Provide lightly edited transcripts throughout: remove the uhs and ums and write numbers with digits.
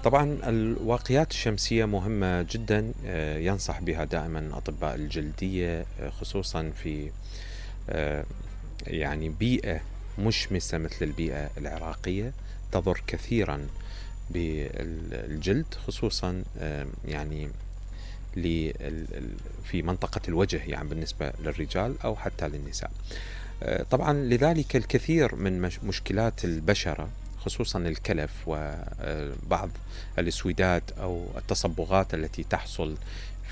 طبعا الواقيات الشمسية مهمة جدا، ينصح بها دائما أطباء الجلدية، خصوصا في يعني بيئة مشمسة مثل البيئة العراقية تضر كثيرا بالجلد، خصوصا يعني في منطقة الوجه، يعني بالنسبة للرجال أو حتى للنساء. طبعا لذلك الكثير من مشكلات البشرة، خصوصا الكلف وبعض الاسوداد أو التصبغات التي تحصل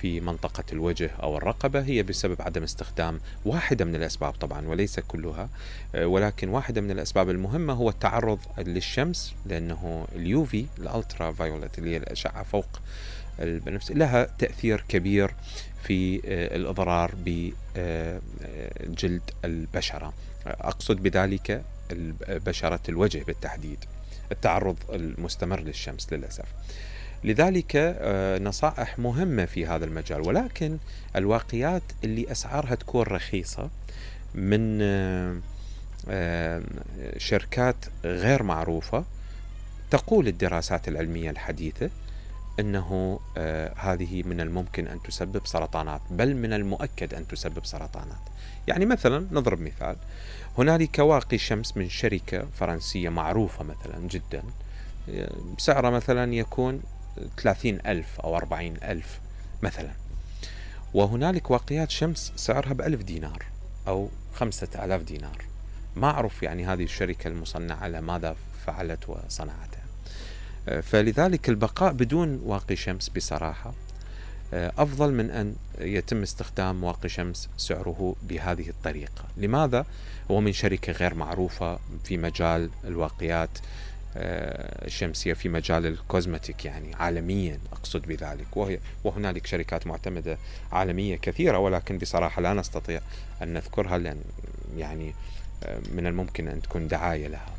في منطقة الوجه أو الرقبة، هي بسبب عدم استخدام، واحدة من الأسباب طبعا وليس كلها، ولكن واحدة من الأسباب المهمة هو التعرض للشمس، لأنه اليوفي الألترا فايولت اللي هي الأشعة فوق البنفسجي لها تأثير كبير في الإضرار بجلد البشرة، أقصد بذلك بشرة الوجه بالتحديد، التعرض المستمر للشمس للأسف. لذلك نصائح مهمة في هذا المجال، ولكن الواقيات اللي أسعارها تكون رخيصة من شركات غير معروفة، تقول الدراسات العلمية الحديثة أنه هذه من الممكن أن تسبب سرطانات، بل من المؤكد أن تسبب سرطانات. يعني مثلا نضرب مثال، هنالك واقي شمس من شركة فرنسية معروفة مثلا جدا، سعره مثلا يكون 30,000 أو 40,000 مثلا، وهنالك واقيات شمس سعرها ب1000 دينار أو 5000 دينار. ما أعرف يعني هذه الشركة المصنعة لماذا فعلت وصنعتها. فلذلك البقاء بدون واقي شمس بصراحة أفضل من أن يتم استخدام واقي شمس سعره بهذه الطريقة. لماذا؟ هو من شركة غير معروفة في مجال الواقيات الشمسية، في مجال الكوزمتيك يعني عالميا أقصد بذلك، وهنالك شركات معتمدة عالمية كثيرة، ولكن بصراحة لا نستطيع أن نذكرها، لأن يعني من الممكن أن تكون دعاية لها.